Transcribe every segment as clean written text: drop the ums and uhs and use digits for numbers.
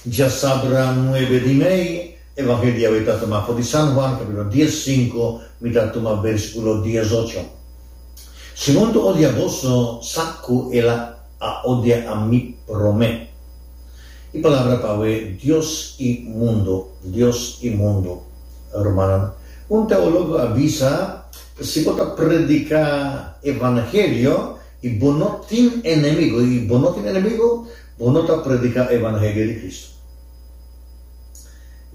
Djasabra nuebe di mei, Evangelio awe ta tuma for di San Juan capítulo diessinco, mi ta tuma versículo diesocho. Si mundu odia boso, sa cu el a odia ami promé. E palabra pa awe Dios i mundu, Dios i mundu. Rumannan, un teologo a bisa, Si bo ta predica Evangelio i bo no tin enemigo, i bo no tin enemigo, bo no ta predica Evangelio di Cristo.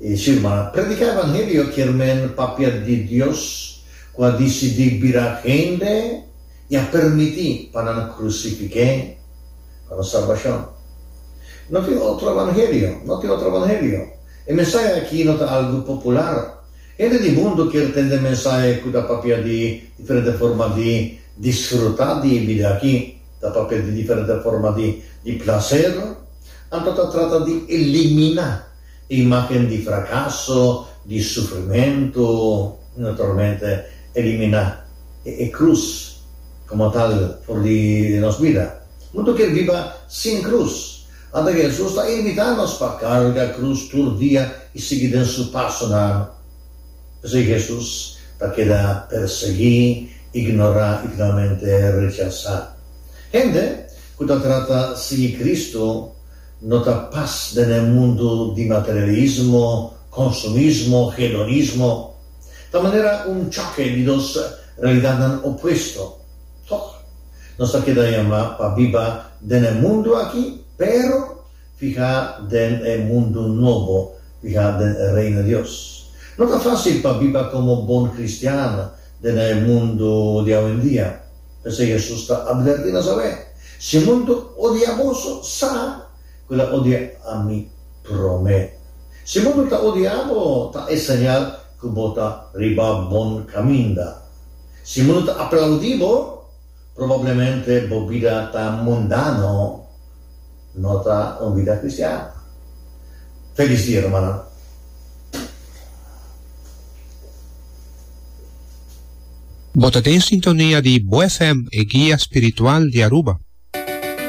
I si, rumannan, predica Evangelio kier men papia di Dios cu a dicidi bira hende i a permiti pa nan crucifiqu'é pa nos salbacion. No tin otro evangelio, no tin otro evangelio. E mensahe aki no ta algu popular. Hende di mundu kier tende mensahe cu ta papia di diferente forma di disfruta di e bida aki, ta papia di diferente forma di di placer, anto ta trata di elimina e imagen di fracaso, di sufrimento, y naturalmente elimina e cruz como tal for di nos bida. Mundu kier biba sin cruz. Anto Hesus ta invitá nos pa karga krus tur dia i sigui den su pasonan. P'esei Hesus ta keda persiguí, ignorá i finalmente rechasá. Hende ku ta trata sigui Kristu no ta pas den e mundu di materialismo, konsumismo, hedonismo. Ta manera un choke di dos realidatnan opuesto. Tòg, nos ta keda yamá pa biba den e mundu aki, pero fihá den e mundu nobo, fihá den e Reino di Dios. No ta fásil pa biba komo bon kristian den e mundu di awendia. P'esei Hesus ta atvertí nos awe, Si mundu odia boso, sa ku el a odia ami promé. Si mundu ta odia bo, ta e señal ku bo ta riba bon kaminda. Si mundu ta aplaudí bo, probablemente bo bida ta mundano, no ta un bida cristiano. Felis dia, rumannan. Bo ta den sintonia di Bo FM, e guia spiritual di Aruba.